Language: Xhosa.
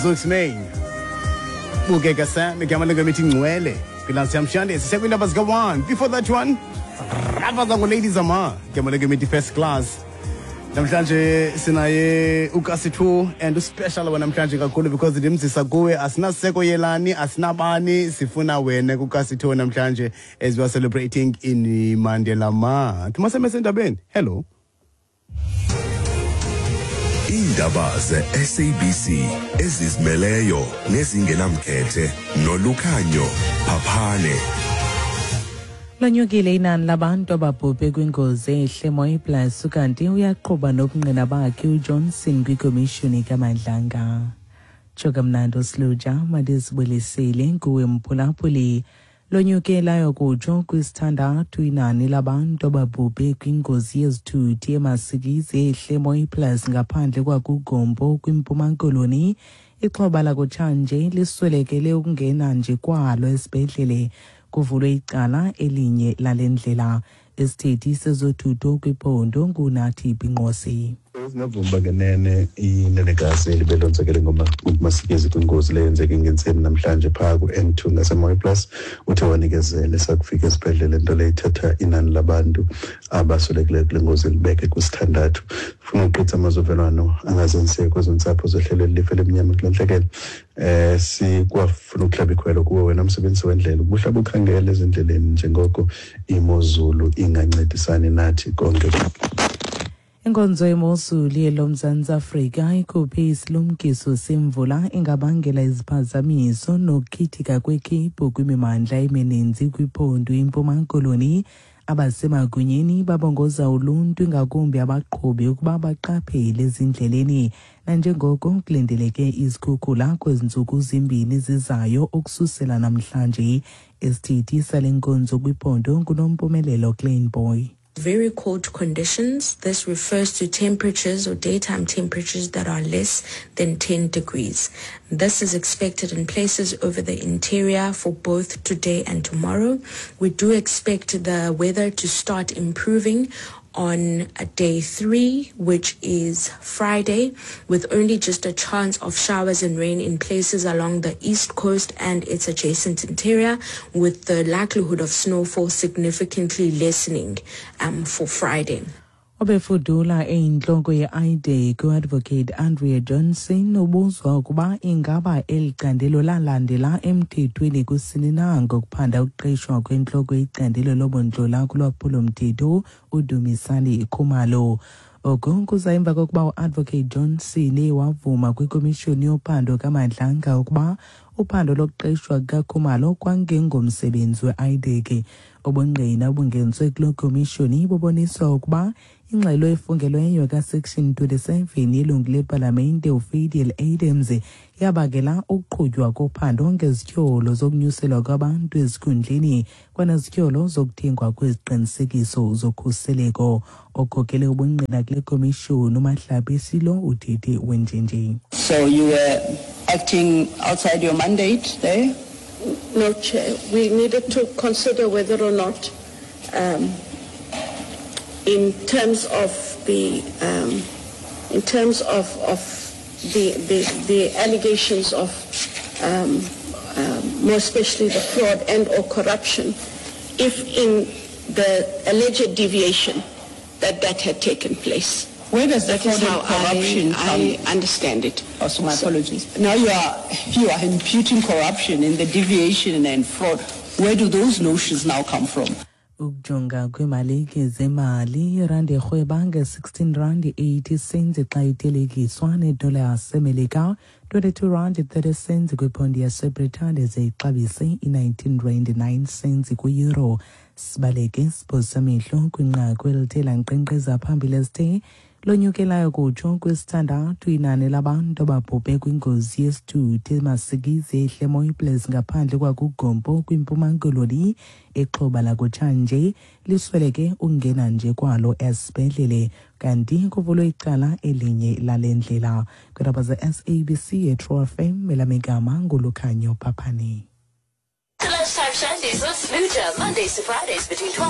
Zuxmain bukeka Sam igama lengoma Ngcwele kwiLunchtime Shandy sisekwiindaba zika-1. Before that one, Ravaza ngoLady Zama, igama lengoma First Class. Namhlanje sinaye uKasi2 and uspecial wanamhlanje kakhulu because ndimzisa kuwe. Asinaseko yelani, asinabani, sifuna wena kuKasi2 namhlanje as we are celebrating in Mandela Month. Maseme sendabeni. Hello. Iindaba ze-SABC ezizimeleyo nezingenamkhethe noLukhanyo Phaphane. Lonyukile inani labantu ababhubhe kwingozi ehle Mooiplaas, kanti uyaqhuba nobungqina bakhe uJohnson kwikomishoni kaMadlanga. Tsho kamnandi uSluja, mandizibulisele kuwe mphulaphuli. Lonyuke layo kutsho kwisithandathu inani labantu ababhubhe kwingozi yezithuthi eMasikizi ehle Mooiplaas ngaphandle kwakuGompo kwiMpuma Koloni. Ixhoba lakutshanje liswelekele ukungena nje kwalo esibhedlele. Kuvulwe icala elinye lale ndlela. Isithethi sezothutho kwiphondo nguNathi Binqose. Singavuma ngenene, inenekazi elibelonzakele ngomasikizi kwingozi leyo yenzeke ngentseni namhlanje phaa ku-N2 ngaseMooiplaas uthe wanikezele sakufika esibhedlele, nto leyo ithatha inani labantu abaswelekileyo kule ngozi libeke kwisithandathu. Funa uqitha amazovelwano angazenzisiyo kwezo ntsapho zehlelwe lilifa elimnyama kule ntlekele. Sikwafuna ukuhlaba ikhwelo kuwe wena msebenzi wendlela ubuhlaba ukhangela ezindleleni njengoko imozulu ingancedisani nathi konke. Inkonzo yemozulu yeloMzantsi Afrika ikhuphe isilumkiso semvula engabangela iziphazamiso nokukhithika kwekhephu kwimimandla emininzi kwiphondo iMpuma Koloni. Abasemagunyeni babongoza uluntu, ingakumbi abaqhubi, ukuba baqaphele ezindleleni nanjengoko kulindeleke izikhukhula kwezi ntsuku zimbini zizayo ukususela namhlanje. Isithethi sale nkonzo kwiphondo nguNompumelelo Kleinboy. Very cold conditions. This refers to temperatures or daytime temperatures that are less than 10 degrees. This is expected in places over the interior for both today and tomorrow. We do expect the weather to start improving on day 3, which is Friday, with only just a chance of showers and rain in places along the east coast and its adjacent interior, with the likelihood of snowfall significantly lessening for Friday. Obefudula eyintloko ye-IDAC, uAdvocate Andrea Johnson, ubuzwa ukuba ingaba eli candelo lalandela emthethweni kusini na ngokuphanda ukuqeshwa kwentloko yecandelo lobundlola kulwaphulomthetho uDumisani Khumalo. Oku kuza emva kokuba uAdvocate Johnson wavuma kwikomishoni yophando kaMadlanga ukuba uphando lokuqeshwa kukaKhumalo kwangengomsebenzi we-IDAC. Ubungqina obungeniswe kuloo komishoni bubonisa ukuba ingxelo efungelweyo kaSection 27 yelungu lepalamente uFadiel Adams yabangela ukuqhutywa kophando ngezityholo zokunyuselwa kwabantu ezikhundleni kwanezityholo zokuthengwa kweziqinisekiso zokhuseleko. Okhokele ubungqina kule komishoni uMahlabi Silo uthethe wenjenje. So you were acting outside your mandate there? No, Chair. We needed to consider whether or not, in terms of the allegations of, more especially the fraud and or corruption, if in the alleged deviation that had taken place. Where does the That is fraud and how corruption I come? Understand it. Oh, so my apologies. Now you are imputing corruption in the deviation and fraud. Where do those notions now come from? Ukujonga kwiimalike zemali, irandi irhweba nge-16 rand 80 cents xa ithelekiswa nedola yaseMelika, 22 rand 30 cents kwiphondi yaseBritane, ze ixabise i-19 rand 9 cents kwi-euro. Sibaleke siphosa amehlo kwinqaku elithe lankqenkqeza phambili esithe lonyukelayo kutsho kwisithandathu inani labantu ababhubhe kwingozi yesithuthi eMasikizi ehle Mooiplaas ngaphandle kwakuGompo kwiMpuma Koloni. Ixhoba lakutshanje lisweleke ukungena nje kwalo esibhedlele, kanti kuvulwe icala elinye lale ndlela. Kwiindaba ze-SABC eTrue FM, elamigama nguLukhanyo Phaphane. The Lunchtime Shandies with Sluja, Mondays to Fridays between 12